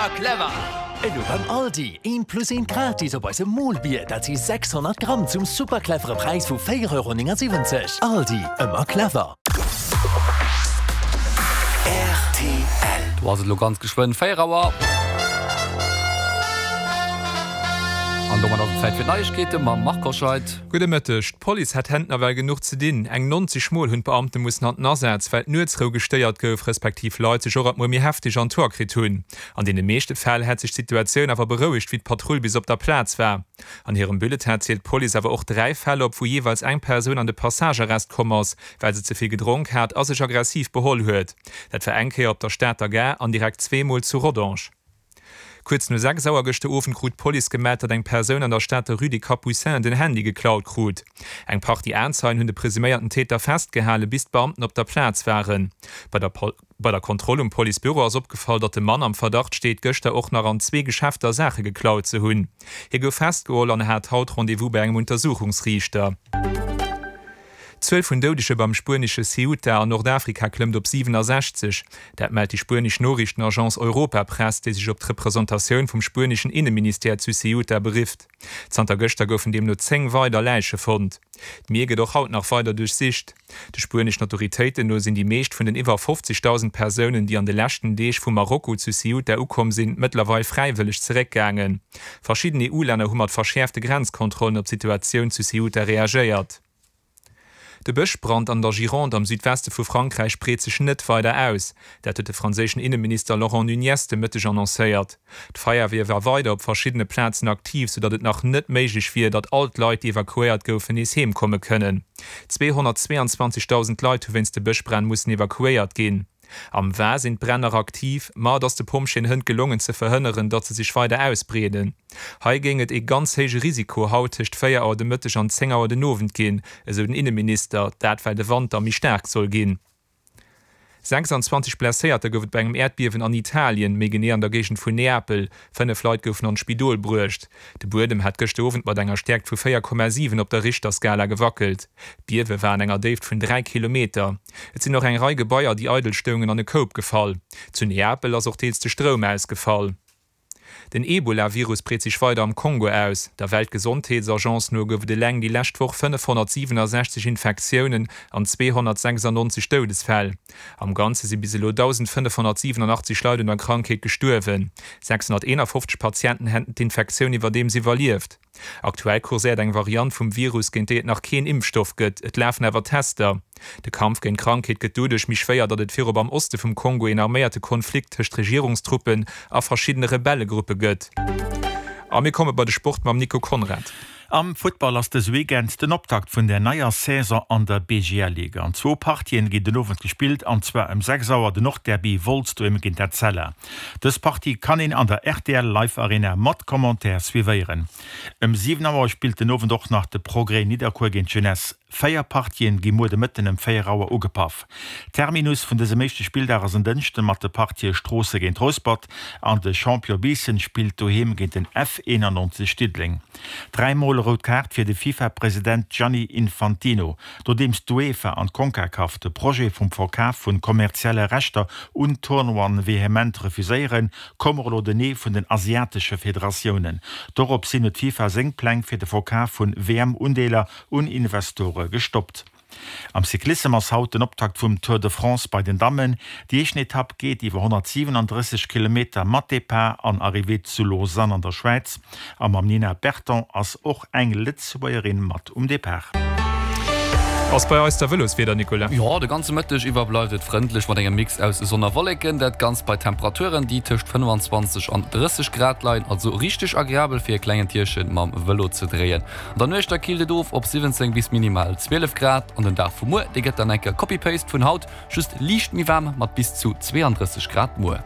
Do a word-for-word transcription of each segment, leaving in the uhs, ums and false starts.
Ëmmer clever! Elo beim Aldi, eent plus eent gratis op eise Molbier, dat si sechshonnert Gramm zum super clevere Präis vu véier Euro néngesiwwenzeg. Aldi, ëmmer clever! Rtl. Do ass et elo ganz geschwënn véier Auer. An domat ass et Zäit fir d'Neiegkeete mam Marc Hoscheid. Gudde Mëtteg. D'Police hat hent nawell genuch ze dinn. Eng neunzeg Mol hunn d'Beamte mussen an den Asaz, well d'Nuetsrou gestéiert gouf, respektiv Leit sech och alt mol méi hefteg an d'Hoer kritt hunn. An deene meeschte Fäll hätt sech d'Situatioun awer berouegt, wéi d'Patrull bis op der Plaz war. An hirem Bulletin zielt d'Police awer och dräi Fäll op, wou jeeweils eng Persoun an de Passagearrest komm ass, well se ze vill gedronk hat a sech aggressiv beholl huet. Dat war eng Kéier op der Stater Gare an direkt zwee Mol zu Rodange. Kuerz no sechs Auer gëschter Owend krut d'Police gemellt, datt eng Persoun an der Stater Rue des Capucins den Handy geklaut krut. Eng Partie Aenzeien hunn de presuméierten Täter festgehalen, bis d'Beamten op der Plaz waren. Bei der Bei der Kontroll um Policebüro ass opgefall, datt de Mann am Verdacht steet, gëschter och nach an zwee Geschäfter Saache geklaut ze hunn. Hie gouf festgeholl an hat haut Rendez-vous bei engem Untersuchungsriichter. D'Zuel vun Doudege beim spuenesche Ceuta an Nordafrika klëmmt op siwenasechzeg. Dat mellt déi spuenesch Noriichtenagence Europa Press, déi sech op d'Representatioun vum spueneschen Inneministère zu Ceuta berifft. Zanter gëschter goufen deemno zéng weider Läiche fonnt. D'Mier gëtt och haut nach weider duerchsicht. De spueneschen Autoritéiten no sinn déi meescht vun den iwwer fofzegdausend Persounen, déi an de leschten Deeg vu Marokko zu Ceuta ukomm sinn, mëttlerweil fräiwëlleg zeréckgaangen. Verschidden E U-Länner hu mat verschäerfte Grenzkontrollen op d'Situatioun zu Ceuta reagéiert. De Bëschbrand an der Gironde am Südweste vu Frankräich breet sech net weider aus. Dat huet de franséischen Inneminister Laurent Nunez de Mëtteg annoncéiert. D'Feierwier war weider op verschiddene Plazen aktiv, soudatt et nach net méiglech wier, datt all d'Leit, déi evakuéiert goufen, nees heem komme kënnen. Zweehonnertzweeanzwanzegdausend Leit hu wéinst de Bëschbränn mussen evakuéiert ginn. Am Var sinn d'Bränn nach aktiv, ma et ass de Pompjeeën hënt gelongen ze verhënneren, datt se sech weider ausbreeden. Hei géing et ee ganz héije Risiko haut tëscht véier Auer de Mëtteg an zéng Auer den Owend ginn, esou den Inneminister, dat well de Wand da méi staark soll ginn. Sechsanzwanzeg Blesséierter gouf et bei engem Äerdbiewen an Italien, méi genee an der Géigend vun Neapel. Fënnef Leit goufen an d'Spidol bruecht. De Buedem hat gëschter Owend mat enger Stäerkt vu véier Komma siwen op der Richterskala gewackelt. D'Biewe war an enger Déift vun dräi Kilometer. Et sinn och eng Rei Gebaier, déi eidel stoungen, an e Koup gefall. Zu Neapel ass och deels de Stroum ausgefall. Den Ebola-Virus breet sech weider am Kongo aus. Der Weltgesondheetsagence no gouf et eleng déi lescht Woch fënnefhonnertsiwenasechzeg Infektiounen an zweehonnertsechsannonzeg Doudesfäll. Am Ganze si bis elo dausendfënnefhonnertsiwenachtzeg Leit un der Krankheet gestuerwen. Sechshonnerteenafofzeg Patienten hätten d'Infektioun iwwerdeems iwwerlieft. Aktuell kurséiert eng Variant vum Virus, géint déi et nach keen Impfstoff gëtt. Et lafen awer Tester. De Kampf géint d'Krankheet gëtt doduerch méi schwéier, datt et virop am Oste vum Kongo een arméierte Konflikt tëscht Regierungstruppen a verschiddene Rebellegruppe gëtt. A mir komme bei de Sport mam Nico Conrad. Am Futtball ass dëse Weekend den Optakt vun der neier Saison an der B G L-Liga. An zwou Partien ginn den Owend gespillt, an zwar ëm sechs Auer den Nordderby Wolz doheem géint Etzella. Dës Partie kann een an der R T L Live Arena mat Commentaire suivéieren. Ëm siwen Auer spillt den Owend och nach de Progrès Nidderkuer géint d'Jeunesse. Véier Partien gi muer de Mëtten ëm véier Auer ugepaff. Terminus vun dësem éischte Spilldag ass en Dënschden mat de Partië Stroossen géint Rouspert an de Champion Biissen spillt doheem géint den F eenannonzeg Diddeleng. Dräi Mol rout Kaart fir de FIFA-President Gianni Infantino. Nodeems d'UEFA an d'Concacaf de Projet vum Verkaf vun kommerzielle Rechter un Tournoien vehement refuséieren, koum och elo den Nee vun den asiatesche Federatiounen. Dorops hin huet d'FIFA seng Pläng fir de Verkaf vun W M-Undeeler un Investore gestoppt. Am Cyclissem ass haut den Optakt vum Tour de France bei den Dammen. Déi éischten Etapp geet iwwer honnertsiwenandrësseg Kilometer mat Depart an Arrivée zu Lausanne an der Schwäiz. A mam Nina Berton ass och eng Lëtzebuergerin mat um Depart. Ass bei eis da Vëloswieder, Nicolas? Jo, de ganze Mëtteg iwwer bleift et frëndlech mat engem Mix aus Sonn a Wolleken. Dat Ganzt bei Temperaturen, déi tëscht fënnfanzwanzeg an drësseg Grad leien, also richteg agreabel fir e klengen Tierche mam Vëlo ze dréien. An der Nuecht da killt et of op siwwenzéng bis minimal zwielef Grad an den Dag vu muer, dee gëtt dann enke Copy-Paste vun haut, just liicht méi waarm mat bis zu zweeandrësseg Grad muer.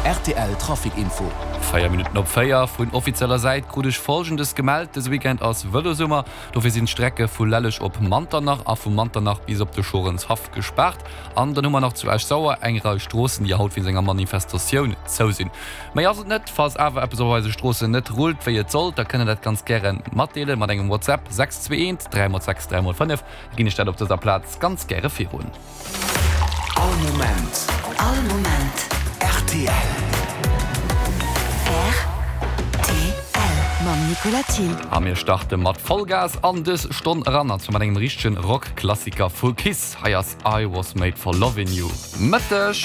R T L Trafic Info. Véier Minutten op véier. Vun offizieller Säit krut ech Folgendes gemellt, Dëse Weekend ass Vëlosummer, dofir sinn d'Strecke vu Lelleg op Manternach a vu Manternach bis op de Schorenshaff gespaart. An dann hu mer nach zu Esch-Sauer eng Rei Stroossen, déi haut wéinst enger Manifestatioun zou sinn. Méi ass et net. Falls awer eppes op eise Stroossen net rullt wéi et sollt, da kënnt der dat ganz gäre matdeelen mat engem WhatsApp, sechs zwee eent dräi mol sechs dräi mol fënnef. Da ginn ech dat op dëser Plaz ganz gäre virun. All Moment. All Moment. R T L. Nicolas Thill. A mir starte mat Vollgas an dës Stonn eran, an zwar mat engem richtegen Rock-Klassiker vu Kiss. Hei ass I Was Made For Lovin' You. Mëtteg!